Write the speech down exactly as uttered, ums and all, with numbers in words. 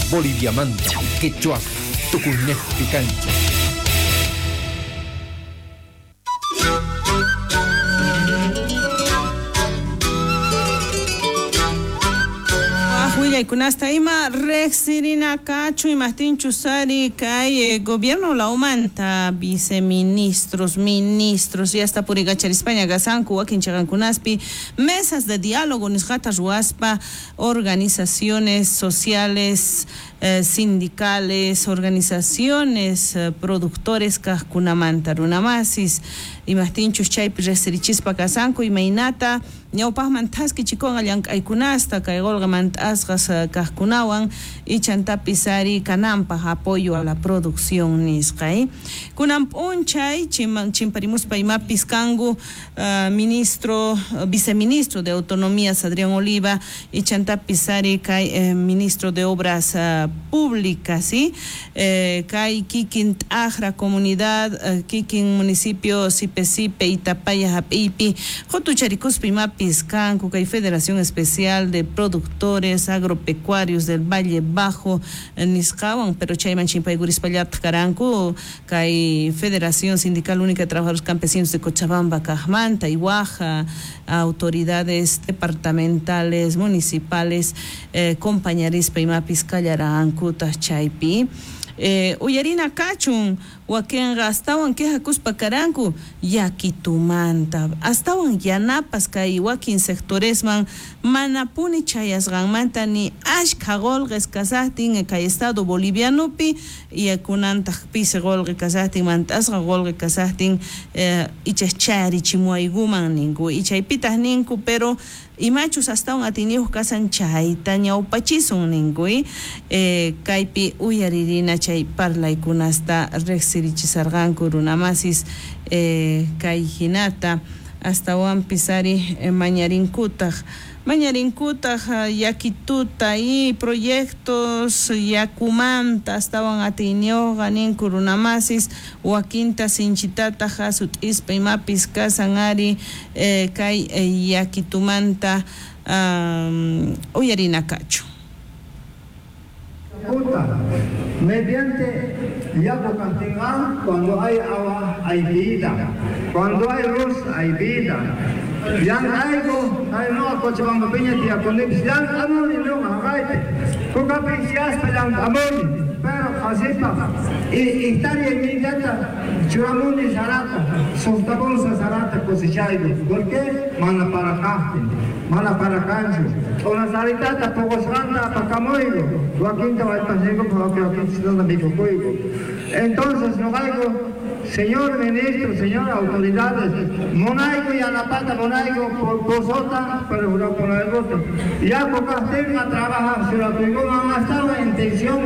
Boliviamanta, Quechua, Tucunejpi Cancha. Kunasta ima rexirina kachu imahtinchu sari kay eh, gobierno laumanta viceministros, ministros y hasta purikacharispaña kasanku wakin chaqankunaspi mesas de diálogo nisqata ruwaspa organizaciones sociales, eh, sindicales, organizaciones, eh, productores kajkunamanta runamasis imahtinchus chaypi rexirichispa kasanku imaynata ñawpaqman thaskichikunqa llank'aykunasta kay qolqemantasqas kajkunawan ichantapis ari kananpaq apoyo a la producción nisqa eh. Kunan p'unchay chimparimuspa imapis kanku uh, ministro, viceministro de Autonomías Adrián Oliva ichantapis ari kay eh, ministro de Obras uh, Públicas, ¿sí? eh, kay kikin t'ajra comunidad, uh, kikin municipio Sipe Sipe Itapaya hap'iypi qutucharikuspa imapis kanku kay Federación Especial de Productores Agropecuarios del Valle Bajo nisqawan, pero chayman chimpaykurispa karanku kay Federación Sindical Única de Trabajadores Campesinos de Cochabamba kajmanta y waj autoridades departamentales, municipales, eh, compañarispa imapis kallarankutaj chaypi. Eh, uyarina kachun wakinqa astawan quejakuspa karanku yakitumanta astawan yanapas kay wakin sectoresman manapuni chayasqanmanta ni ashkha qolqes kasaqtin kay estado bolivianopi y kunantaq pisi qolqe kasaqtin mantasqa qolqe kasaqtin eh, ichas charichimuaykuman ninku y chaypitaq ninku pero imachus astawan atiniyuq kasan chayta ñawpachisun ninku eh, kaypi uyaririna chay parlaykunasta riqsirichisarqanku runamasis eh, kay hinata astawanpis ari eh, mañarinkutaq mañarinkutaq yakituta y proyectos yakumanta astawan atiyniyuqqa ninku runamasis wakinta sinchitataq hasut'ispa imapis kasan ari eh, kay eh, yakitumanta um, uyarina kachu. Mediante yaku kantingan, cuando hay agua hay vida, cuando hay luz hay vida. Yang algo, hay no Cochabamba piña tía con yang amor y no hagaite. Kuka pinsias yang amor, pero hasipa y estaría inmediata churamuni sarata, softabonsa sarata cosechaigo. ¿Por qué? Mana para café, mana para cancho. Una saritata pocosranda pacamoigo, wakinta waipasigo, porque wakinta mikokuigo. Entonces no algo. Señor ministro, señor autoridades, monaigo y anapata, monaigo posota, pero juró con el voto. Ya pocas tenga trabajar, si lo tengo, no estaba en tensión.